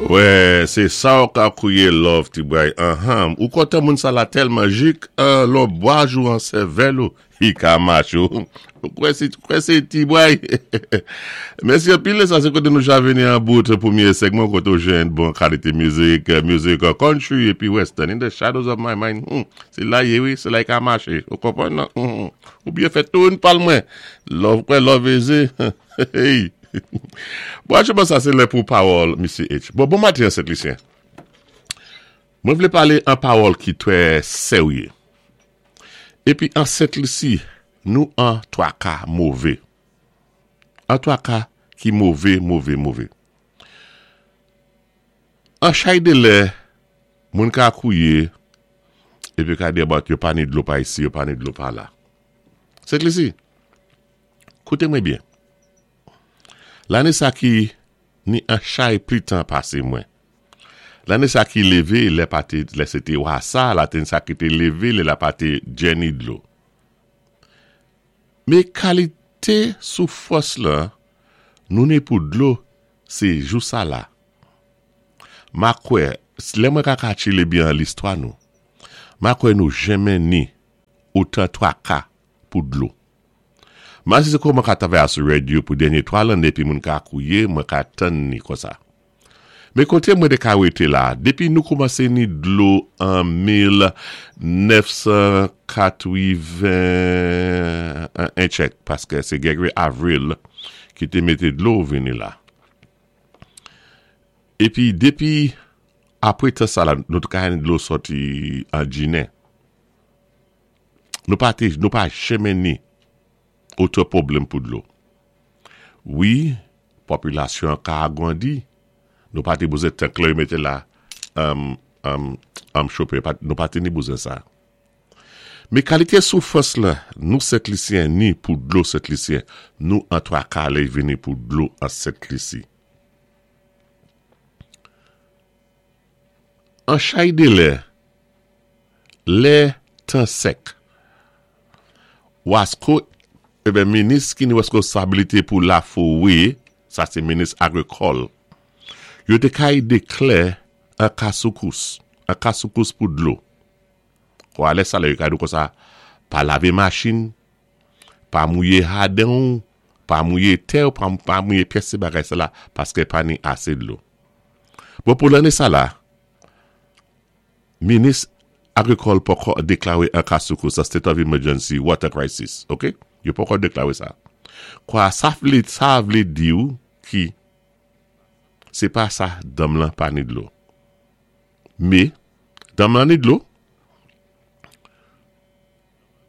Wè se sa ou ka kouye love ti bray anhmm ou kontan moun sa la tèlman jik lò bwaj ou an sèvèl ou li ka mache ou kwè se kwè se ti bray mèsi anpil sa se kote nou ja vini an bout premye segman kote ou jwenn bon kalite mizik mizik country epi western in the shadows of my mind humm se la ye wi se la li ka mache ou konprann nan humm ou byen fèt tou yn pal mwen love kwè love eze hey. Bon acheman sa se lè pou pawòl Misye H. Bon, bon maten Sent Lisyen. Mwen vle pale an pawòl ki trè serye. Epi an Sent Lisi, nou an twaka move. An twaka ki move, move, move. An chay de lè, moun ka kouye, epi ka di about yo pa ni dlo pa isi, yo pa ni dlo pa la. Sent Lisi, Koute mwen byen. Lane sa ki ni an chay pli tan pase mwen. Lane sa ki leve lè pa te lè se te wasa, laten sa ki te leve lè la pa te djeni dlo. Me kalite soufrans lan nou ni pou dlo se jou sa la. Ma kwè lè mwen ka katchile byen an listwa nou. Ma kwè nou jenmen ni otan twaka pou dlo. Masi se kòman ka travay a sou radio pou dènye 3 lanne epi moun ka kouye mwen ka tann ni konsa. Men kote mwen te ka wete la depi nou koumanse ni dlo an 1981 tchèk paske se Gregory Avril ki te mete dlo vini la. Epi depi apre tan sa la nou te ka ni dlo sòti an Ginen. Nou pa te, nou pa jenmen ni otè pwoblèm pou dlo. Wi, popilasyon an ka agrandi. Nou pa te bouzen tank lè yo mete la um, um, um chope. Nou pa te ni bouzen sa. Men kalite soufrans la, nou Sentlisyen ni pou dlo Sentlisyen, nou an twaka lè vini pou dlo an Sentlisi. An chay de lè, lè tan sèk. Wasko, eben minis ki ni reskonsabilite pou lafowe, sa se minis agrikòl, yo te kay deklè an ka soukous, an ka soukous pou dlo. Kwa lè sa lè yo ka di w konsa, pa lave machin, pa mouye jaden w, pa mouye tè w, pa mouye pyès ti bagay sa la, paske pa ni ase dlo. Bon pou lane sa la, minis agrikòl poko deklare an ka soukous an state of emergency, water crisis, ok, yo poko deklare sa. Kwa sa vle sa vle diw ki se pa sa danm lan pa ni dlo. Me, danm lan ni dlo,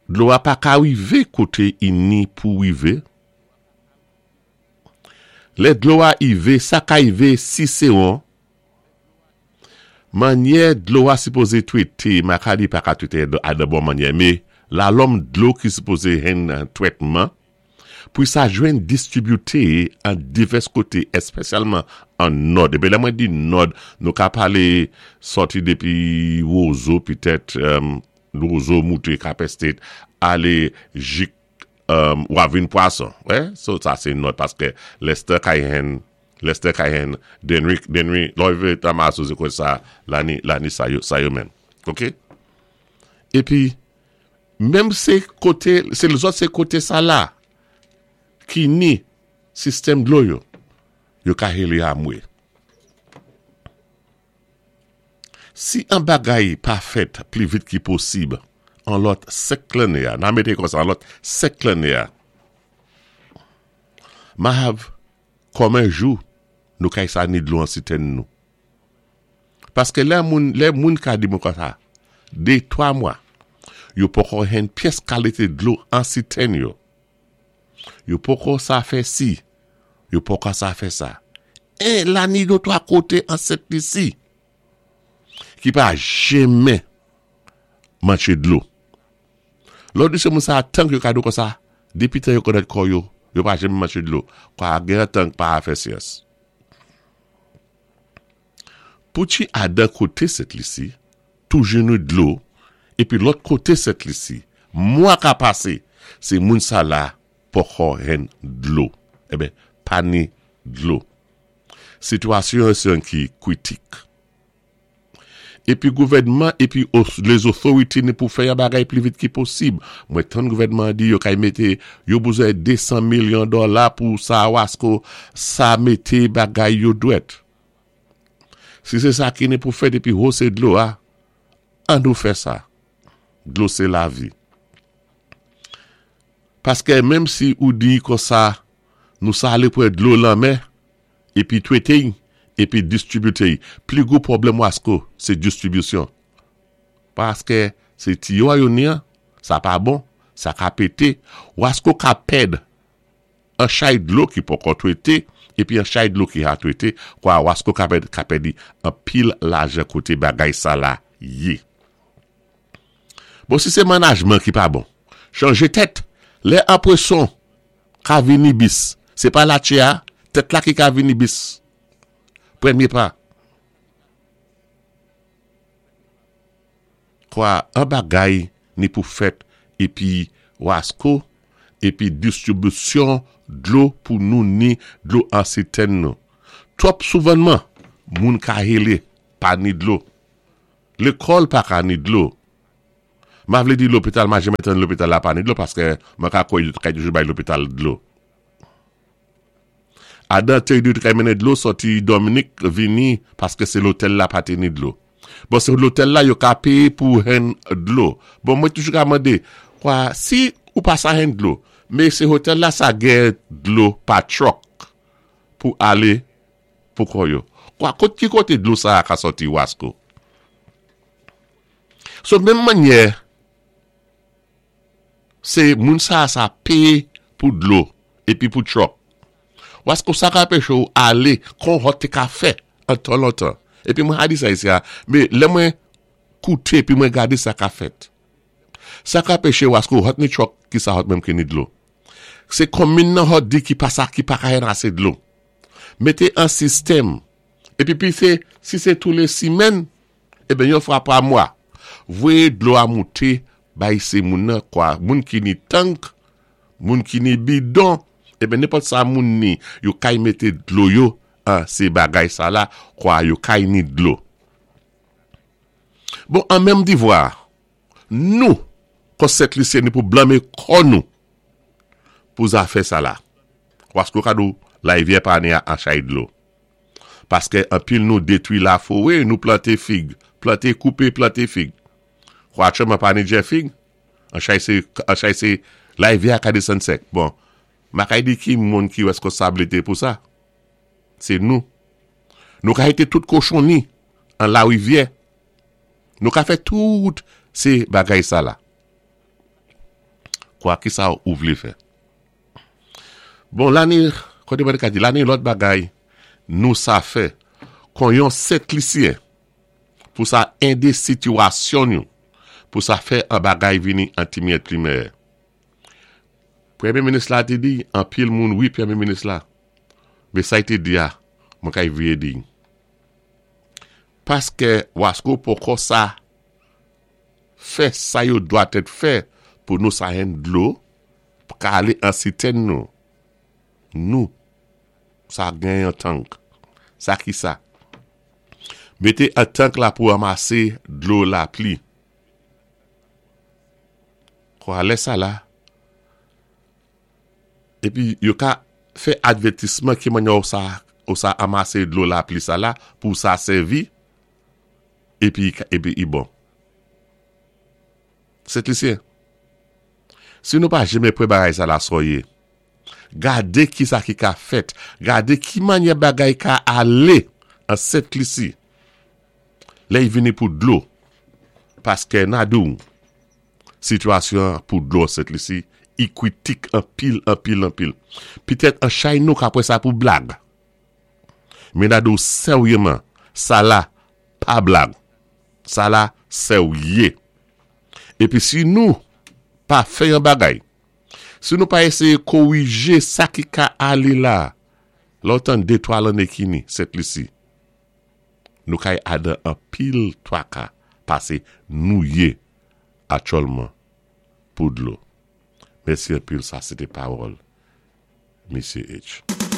dlo a pa ka rive kote i ni pou rive. Lè dlo a ive, sa ka ive si se on Manyè dlo a sipoze twete, Makadi pa ka twete a dan bon manyè, me lalòm dlo ki sipoze hen twètman, pou sa jwenn distribute an divès kote, espesyalman an nòd. Epi lè mwen di nòd, nou ka pale sòti depi Wozo petèt, Wozo moute Cap Estate, ale jik Wap vin pwason wè so sa se nòt paske Lester Cayenne Lester Cayenne Denry Denry lè w rive Tamazo se konsa lani lani sa yo sa yo menm ok epi menm se kote se lzòt se kote sa la ki ni sistèm dlo yo yo ka hele amwe. Si an bagay pa fèt pli vit ki posib an lòt 5 lanne a, nan mete konsa an lòt 5 lanne a, ma hav kòmen jou nou kay sa ni dlo an sitèn nou. Paske lè moun, lè moun ka di mwen konsa, 2, 3 mwa, yo poko henn pyès kalite dlo an sitèn yo. Yo poko sa fè si, yo poko sa fè sa. E la ni do 3 kote an Sent Lisi ki pa jenmen manche dlo. Lò di se moun sa tank yo ka do konsa, depi tan yo konèt kò yo, yo pa jenmen manche dlo. Kwa gen tank pa fè syans. Pou ti Adan kote Sent Lisi, toujou ni dlo, epi lòt kote Sent Lisi, mwa ka pase, se moun sa la poko hen dlo. Eben, pa ni dlo. Sitwasyon an sé yon ki kwitik. Épi gouvèdman épi lèzotorité ni pou fè yon bagay pli vit ki posib. Mwen tann gouvèdman an di yo kay mété yo bezwen 200 milyon dòla pou sa wasko sa mété bagay yo dwèt. Si sé sa ki ni pou fèt épi hose dlo a, an nou fè sa. Dlo sé lavi. Paskè menm si ou di konsa nou sa alé pran dlo lanmè, Epi twete y epi distribute y. Pli gwo pwoblèm wasko se distribisyon. Paske se tiyo a yo ni an, sa pa bon, sa ka pete, wasko ka pèd an chay dlo ki poko twete epi an chay dlo ki ha twete kwa wasko ka pèd ka pèdi anpil lajan kote bagay sa la ye. Bon si se manajman ki pa bon, chanje tèt, lè anpreson Ka vini bis. Se pa latche a, tèt la ki ka vini bis. Premye pa. Kwa an bagay ni pou fèt epi wasko epi distribisyon dlo pou nou ni dlo an sitèn nou. Twòp souvènman moun ka hele pa ni dlo. Lekòl pa ka ni dlo. Ma vlé di lopital ma jamè tann lopital la pa ni dlo paskè mwen ka kwè yo t kay toujou bay lopital dlo. Adan te yo t kay mennen dlo sòti Dominik vini paske se lotèl la pa te ni dlo. Bon se lotèl la yo ka peye pou henn dlo. Bon mwen toujou ka mande kwa si ou pa sa henn dlo me se hotèl la sa gen dlo pa truck pou ale pou kò yo. Kwa kot ki kote dlo sa a ka sòti wasko? So menm mannyè se moun sa sa peye pou dlo epi pou truck. Wasko sa ka anpeche ou ale kon hot te ka fè an tan lontan. Epi mwen ha di sa isi a, me lè mwen koute epi mwen gade sa ka fèt. Sa ka anpeche wasko hot ni truck ki sa hot menm ke ni dlo. Se konmin nan hot di ki pa sa ki pa ka hen ase dlo. Mete an sistèm. Epi pi se si se tou le simèn Eben yon fwa pa mwa, voye dlo a moute bay se moun nan kwa, moun ki ni tank, moun ki ni bidon, eben nenpòt sa moun ni, yo kay mete dlo yo an se bagay sa la kwa yo kay ni dlo. Bon an menm divwa, nou kò Sent Lisyen ni pou blanme kò nou pou zafè sa la. Paske w ka di w larivyè pa ni a chay dlo. Paskè anpil nou detwi lafowe nou plante fig plante koupe plante fig kwa aktyèlman pa ni djè fig an chay se an chay se larivyè a ka desann sèk bon makay di ki moun ki rèskonsablite pou sa se nou nou ka jete tout kochonni an larivyè nou ka fè tout se bagay sa la kwa kisa ou vle fè. Bon lane kote mwen te ka di lane lòt bagay nou sa fè kon yon sentlisyen pou sa ende sitiyasyon nou pou sa fè an bagay vini an ti miyèt pli mèyè. Premye minis la te di anpil moun wi premye minis la men sa y te di a mwen kay veye di paske wasko poko sa fè sa yo dwa tèt fè pou nou sa henn dlo Pka ale an sitèn nou. Nou Sa gen yon tank. Sa ki sa? Mete an tank la pou ranmase dlo lapli. Kwa lè sa la. Epi yo ka fè advètisman ki manyè ou sa ou sa anmase dlo lapli sa la pou sa sèvi epi epi i bon. Sentlisyen. Si nou pa jeme pre bagay sa la soye. Gade ki sa ki ka fèt. Gade ki manyè bagay ka ale an Sent Lisi. Lè y vini pou dlo. Paske na di w, sitiyasyon an pou dlo an Sent Lisi, i kritik anpil, anpil, anpil. Petèt an chay nou ka pran sa pou blag. Men na di w seryeman, sa la pa blag. Sa la serye. Epi si nou pa fè yon bagay, si nou pa eseye korije sa ki ka ale la, lè w tann de twa lanne kini, Sent Lisi, nou kay adan anpil twaka pase nou ye aktyèlman pou dlo. Mèsi anpil sa se te pawòl Mesye H.